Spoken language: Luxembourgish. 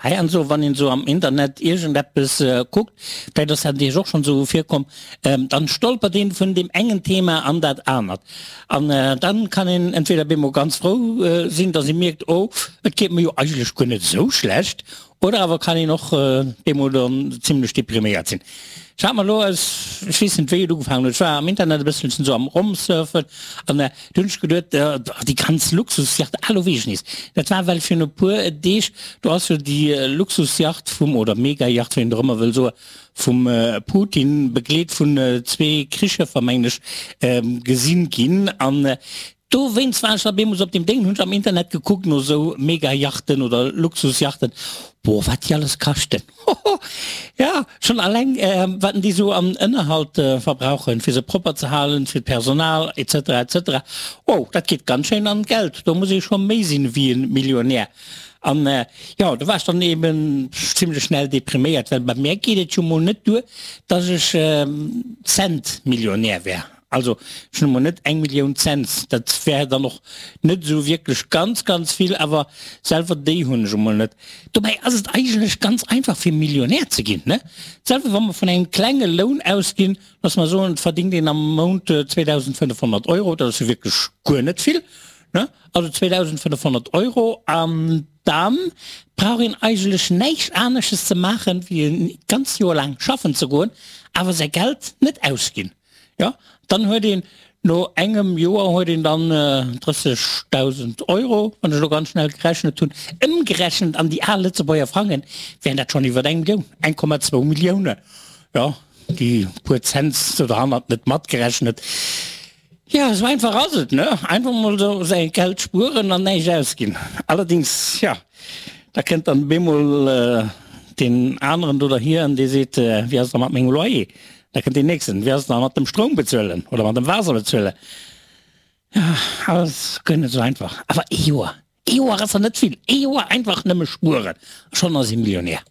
Heiansdo, wann een esou am Internet iergendeppes kuckt, vläicht ass dat Iech och schonn esou virkomm, dann stolpert een vun deem engen Thema an dat anert. An dann kann een entweder bemol ganz frou sinn, dass ee mierkt, oh, et geet mer jo eigentlech guer net esou schlecht, oder awer kann een och bemol dann zimlech depriméiert sinn. Ech hat mer elo aus, ech weess net wéi et ugefaangen huet, ech war am Internet e bësselchen esou am Romsurfen an du hunn ech geduet, déi ganz Luxusjacht, ah elo weess ech nees, dat war well virun e puer Deeg, do ass jo déi Luxusjacht vum, oder Megajacht, wéi een och ëmmer wëll soen, vum Putin, begleet vun zwee Krichschëffer mengen ech, gesinn ginn an Dowéinst war ech da bemools op deem Déng, hunn ech am Internet gekuckt no sou Mega-Yachten oder Luxus-Yachten. Boah, wat déi alles kaschten! Hoho! Ja, schonn alleng wat déi sou an Ënnerhalt verbrauchen, fir se propper ze halen, fir d'Personal, etc. Etc. Wow, dat geet ganz schéin an d'Geld. Do muss ee scho méi sinn wéi e Millionär. An jo, do war ech dann eben zimlech schnell depriméiert, well bei mär geet et jo mol net duer, dass ech Cent-Millionär wär. Also, ech hunn emol net eng Millioun Cents, dat wär dann och net esou wierklech ganz, ganz vill, awer selwer déi hunn ech emol net. Dobäi ass et eigentlech ganz einfach fir Millionär ze ginn, ne? Selwer wa mer vun engem klenge Loun ausginn, loosse mer soen, et verdingt een am Mount 2.500 Euro, dat ass jo wierklech guer net vill, ne? Also 2.500 Euro, an da brauch een eigentlech näischt anesches ze maachen, wéi e ganzt Joer laang schaffen ze goen, awer säi Geld net ausginn. Jo, dann huet een no engem Joer huet een dann 30.000 Euro, wann ech elo ganz schnell gerechnet hunn, ëmgerechent an déi al Lëtzebuerger Frangen, wären dat schonn iwwer eng Millioun, 1,2 Millioune. Jo, déi puer Cents do derhannert net matgerechnet. Jo, esou einfach ass et, ne? Einfach mol esou säi Geld spueren an näischt ausginn. Allerdings, jo, da kënnt dann bemol deen aneren do derhier an dee seet, Wéi ass et da mat mengem Loyer? Da kënnt deen nächsten, Wéi ass et da mat dem Stroum bezuelen oder mat dem Waasser bezuelen? Jo, alles guer net esou einfach. Awer ee Joer, ee Joer ass der net vill. Ee Joer einfach nëmme spueren a schonn ass ee Millionär.